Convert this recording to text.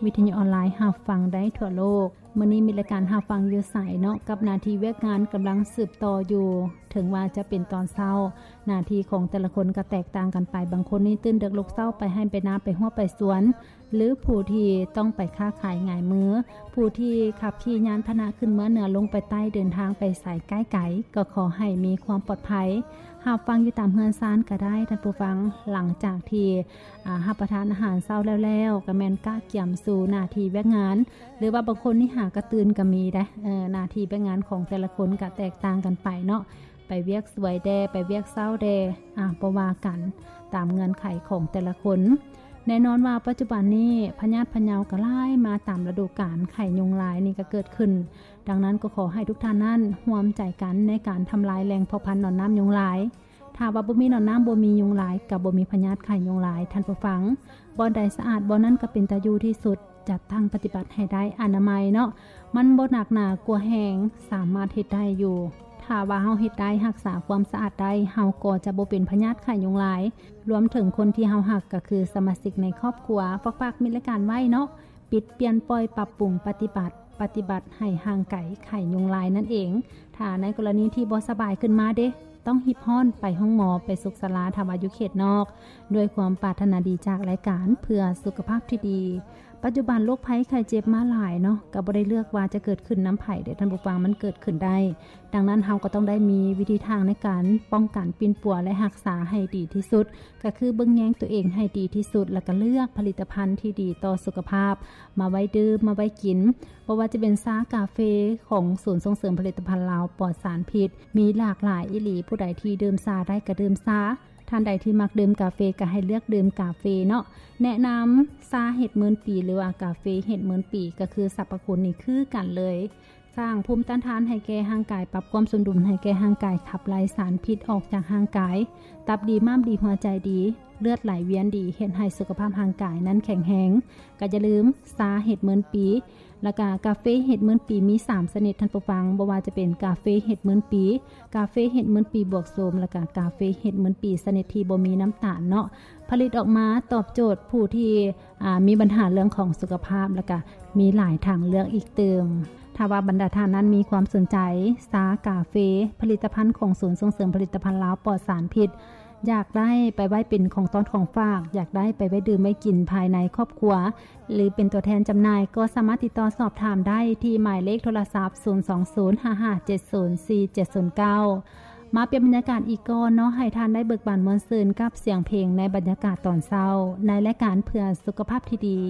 ວິທະຍຸອອນລາຍຮັບຟັງໄດ້ທົ່ວໂລກ. ມື້ນີ້ມີລາຍການຮັບຟັງຢູ່ໃສເນາະ ກັບໜ້າທີ່ວຽກງານກຳລັງສືບຕໍ່ຢູ່. ເຖິງວ່າຈະເປັນຕອນເຊົ້າ, ໜ້າທີ່ຂອງແຕ່ລະຄົນກໍແຕກຕ່າງກັນໄປ. ບາງຄົນນີ້ຕື່ນເດິກລຸກເຊົ້າ ໄປໄຮ່ໄປນາ ໄປຮົ້ວໄປສວນ, ຫຼື ຜູ້ທີ່ຕ້ອງໄປຄ້າຂາຍຫງາຍມື, ຜູ້ທີ່ຂັບຂີ່ຍານພາຫະນະຂຶ້ນເມືອເໜືອລົງໄປໃຕ້ ເດີນທາງໄປໃສໃກ້ໄກ ກໍຂໍໃຫ້ມີຄວາມປອດໄພ. ຮັບຟັງຢູ່ຕາມເຮືອນຊານກໍໄດ້ທ່ານຜູ້ຟັງ. ຫຼັງຈາກທີ່ ອາ ຮັບປະທານອາຫານເຊົ້າແລ້ວໆ ກໍແມ່ນກະກຽມສູ່ໜ້າທີ່ວຽກງານ ຫຼືວ່າບາງຄົນນີ້ຫາກະຕື່ນກໍມີເດ້. ເອີ ໜ້າທີ່ວຽກງານຂອງແຕ່ລະຄົນກໍແຕກຕ່າງກັນໄປເນາະ, ໄປວຽກສວຍແດ່ ໄປວຽກເຊົ້າແດ່ ອາ ບໍ່ວ່າກັນ ຕາມເງື່ອນໄຂຂອງແຕ່ລະຄົນ. ແນ່ນອນວ່າປັດຈຸບັນນີ້ພະຍາດພະເຍົາກໍຫຼາຍມາຕາມລະດູການ, ໄຂ້ຍຸງລາຍນີ້ກໍເກີດຂຶ້ນ. ດັ່ງນັ້ນກໍຂໍໃຫ້ທຸກທ່ານນັ້ນຮ່ວມໃຈກັນໃນການທຳລາຍແຫຼ່ງເພາະພັນໜອນນ້ຳຍຸງລາຍ. ຖ້າວ່າບໍ່ມີໜອນນ້ຳ ບໍ່ມີຍຸງລາຍ ກໍບໍ່ມີພະຍາດໄຂ້ຍຸງລາຍ ທ່ານຜູ້ຟັງ. ບ່ອນໃດສະອາດ ບ່ອນນັ້ນກໍເປັນຕາຢູ່ທີ່ສຸດ. ຈັດຕັ້ງປະຕິບັດໃຫ້ໄດ້ອະນາໄມເນາະ, ມັນບໍ່ໜັກໜາກົວແຮງ, ສາມາດເຮັດໄດ້ຢູ່. ຖ້າວ່າເຮົາເຮັດໄດ້ ຮັກສາຄວາມສະອາດໄດ້, ເຮົາກໍຈະບໍ່ເປັນພະຍາດໄຂ້ຍຸງລາຍ. ລວມເຖິງຄົນທີ່ເຮົາຮັກ ກໍຄືສະມາຊິກໃນຄອບຄົວ. ຝາກໆ ມີລາຍການໄວ້ເນາະ, ປິດ, ປ່ຽນ, ປ່ອຍ, ປັບປຸງ, ປະຕິບັດ, ປະຕິບັດໃຫ້ຫ່າງໄກໄຂ້ຍຸງລາຍນັ້ນເອງ. ຖ້າໃນກໍລະນີທີ່ບໍ່ສະບາຍຂຶ້ນມາເດ, ຕ້ອງຮີບຮ້ອນໄປໂຮງໝໍ, ໄປສຸກສາລາ ຖ້າວ່າຢູ່ເຂດນອກ. ດ້ວຍຄວາມປາດຖະໜາດີຈາກລາຍການເພື່ອສຸຂະພາບທີ່ດີ. ປັດຈຸບັນໂລກໄພໄຂ້ເຈັບມາຫຼາຍເນາະ, ກໍບໍ່ໄດ້ເລືອກວ່າຈະເກີດຂຶ້ນນຳໃຜເດ້ທ່ານຜູ້ຟັງ, ມັນເກີດຂຶ້ນໄດ້. ດັ່ງນັ້ນເຮົາກໍຕ້ອງໄດ້ມີວິທີທາງໃນການປ້ອງກັນ, ປິ່ນປົວ ແລະ ຮັກສາໃຫ້ດີທີ່ສຸດ, ກໍຄືເບິ່ງແຍງຕົວເອງໃຫ້ດີທີ່ສຸດ ແລ້ວກໍເລືອກຜະລິດຕະພັນທີ່ດີຕໍ່ສຸຂະພາບ ມາໄວ້ດື່ມ, ມາໄວ້ກິນ. ບໍ່ວ່າຈະເປັນຊາ, ກາເຟ ຂອງສູນສົ່ງເສີມຜະລິດຕະພັນລາວປອດສານພິດ ມີຫຼາກຫຼາຍອີ່ຫຼີ. ຜູ້ໃດທີ່ດື່ມຊາໄດ້ກໍດື່ມຊາ, ທ່ານໃດທີ່ມັກດື່ມກາເຟກໍໃຫ້ເລືອກດື່ມກາເຟເນາະ. ແນະນຳຊາເຫັດໝື່ນປີ ຫຼືວ່າກາເຟເຫັດໝື່ນປີ ກໍຄືສັບພະຄຸນນີ້ຄືກັນເລີຍ. ສ້າງພູມຕ້ານທານໃຫ້ແກ່ຮ່າງກາຍ, ປັບຄວາມສົມດຸນໃຫ້ແກ່ຮ່າງກາຍ, ຂັບໄລ່ສານພິດອອກຈາກຮ່າງກາຍ, ຕັບດີ, ມ້າມດີ, ຫົວໃຈດີ, ເລືອດໄຫຼວຽນດີ, ເຮັດໃຫ້ສຸຂະພາບຮ່າງກາຍນັ້ນແຂງແຮງ. ກໍຢ່າລືມຊາເຫັດໝື່ນປີ ແລ້ວກະກາເຟເຫັດໝື່ນປີມີສາມຊະນິດທ່ານຜູ້ຟັງ, ບໍ່ວ່າຈະເປັນກາເຟເຫັດໝື່ນປີ, ກາເຟເຫັດໝື່ນປີບວກໂຊມ ແລ້ວກະກາເຟເຫັດໝື່ນປີຊະນິດທີ່ບໍ່ມີນ້ຳຕານເນາະ. ຜະລິດອອກມາຕອບໂຈດຜູ້ທີ່ ອາ ມີບັນຫາເລື່ອງຂອງສຸຂະພາບ ແລ້ວກະມີຫຼາຍທາງເລືອກອີກຕື່ມ. ຖ້າວ່າບັນດາທ່ານນັ້ນມີຄວາມສົນໃຈຊາ, ກາເຟ, ຜະລິດຕະພັນຂອງສູນສົ່ງເສີມຜະລິດຕະພັນລາວປອດສານພິດ, ຢາກໄດ້ໄປໄວ້ເປັນຂອງຕ້ອນຂອງຝາກ, ຢາກໄດ້ໄປໄວ້ດື່ມໄວ້ກິນພາຍໃນຄອບຄົວ ຫຼື ເປັນຕົວແທນຈຳໜ່າຍ, ກໍສາມາດຕິດຕໍ່ສອບຖາມໄດ້ທີ່ໝາຍເລກໂທລະສັບ ສູນສອງສູນ ຫ້າຫ້າເຈັດສູນ ສີ່ເຈັດສູນເກົ້າ. ມາປ່ຽນບັນຍາກາດອີກກ່ອນເນາະ, ໃຫ້ທ່ານໄດ້ເບີກບານມ່ວນຊື່ນກັບສຽງເພງໃນບັນຍາກາດຕອນເຊົ້າ ໃນລາຍການເພື່ອສຸຂະພາບທີ່ດີ.